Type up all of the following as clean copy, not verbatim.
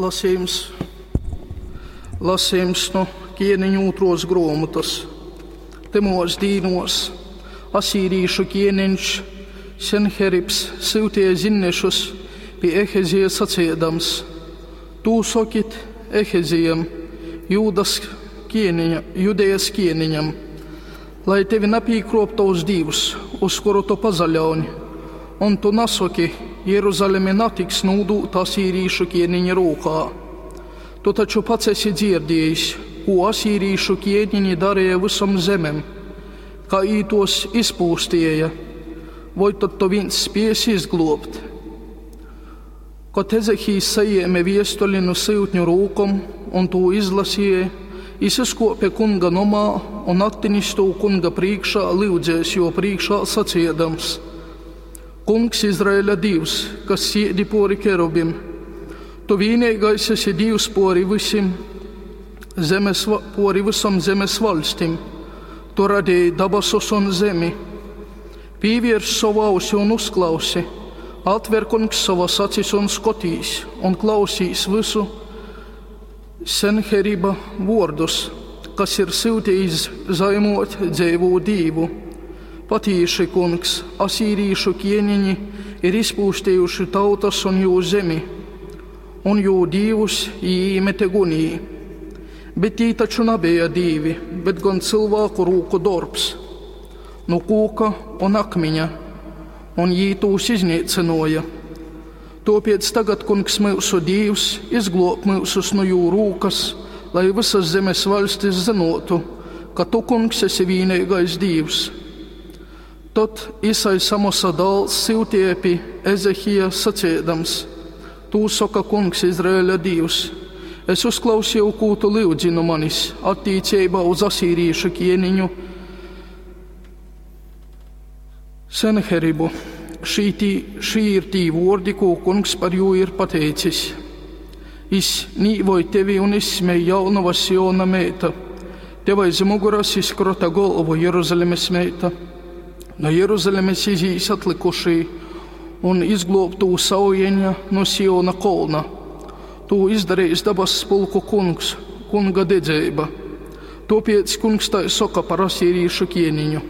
Lasījums, lasījums nu ķieniņu ūtros gruomotas. Tymos dīnuos asīrīšu ķieniņš Senheribs syutīja zinnešus pi Ehezija saciedams: Tū sokit Ehezijam, Jūdas ķieniņa, Judejas ķieniņam, lai tevi napīkrop tovs dīvs, uz kuru tu pazaļauņ, un tu nasoki, Jeruzaleme natiks nūdūta asīrīšu ķieniņa rūkā. Tu taču pats esi dzierdiejis, kū asīrīšu ķieniņi darīja visom zemem, kā jī tos izpūstīja, voi tad tu viens spiesi izgluobt? Kod Ezehijs sajēme viestuli nu syutņu rūkom un tū izlasīja, jis izkuope kunga nomā un attinis tū kunga prīškā lyudzēs juo prīškā saciedams: Kungs, Izraēļa Dīvs, kas siedi puori kerubim, tu vīneigais esi Dīvs puori vysim zemes, puori vysom zemes vaļstim. Tu radīji dabasus un zemi. Pīviers sovu ausi un uzklausi. Atver, kungs, sovas acis un skotīs, un klausīs vysu Senheriba vuordus, kas ir syutījis zaimot dzeivū Dīvu. Patīši, kungs, asīrīšu ķieniņi ir izpūstījuši tautas un jū zemi, un jū dīvus jī īmete gunī. Bet tī taču nabeja dīvi, bet gan cylvāku rūku dorbs, nu kūka un akmiņa, un jī tūs iznīcynuoja. Tuopiec tagad, kungs, myusu Dīvs, izgluob myusus nu jū rūkas, lai vysas zemes vaļstis zynuotu, ka tu, kungs, esi vīneigais Dīvs. Tod Isajs Amosa dāls syutīja pi Ezehija saciedams: Tū soka kungs, Izraēļa Dīvs: Es uzklausīju, kū tu lyudzi nu manis attīceibā uz asīrīšu ķieniņu Senheribu. Šī, tī, šī ir tī vuordi, kū kungs par jū ir pateicis. Jis nīvoj tevi un izsmej jaunova Siona meita. Tev aiz muguras izkrota golvu Jeruzalemes meita. No Jeruzalemes izīs atlikušī un izgluobtū saujeņa no Siona kolna. Tū izdarījis dabas pulku kungs, kunga dedzeiba. Tuopiec kungs tai soka par asīrīšu ķieniņu.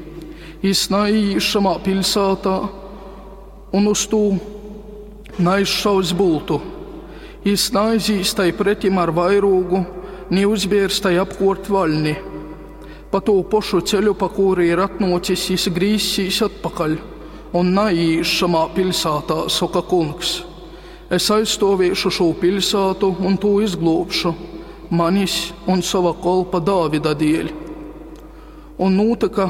Jis naīīs šamā piļsātā un uz tū naizšaus bultu. Jis naizīs tai pretim ar vairūgu, ni uzbiers tai apkuort vaļni. Pa tū pošu ceļu, pa kuru ir atnuocis, jis grīzsīs atpakaļ un naīīs šamā piļsātā, soka kungs. Es aizstuoviešu šū piļsātu un tū izgluobšu, manis un sova kolpa Dāvida dieļ. Un nūtyka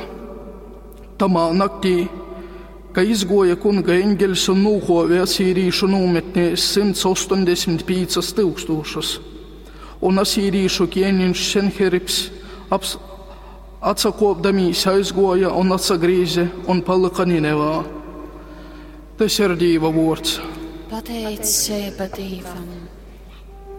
tamā naktī, ka izguoja kunga eņgeļs un nūkuove asīrīšu nūmetnēs 185 tyukstūšas. Un asīrīšu ķieniņš Senheribs aps, atsakuopdamīs aizguoja un atsagrīze un palyka Ninevā. Tys ir Dīva vuords. Pateiceiba Dīvam.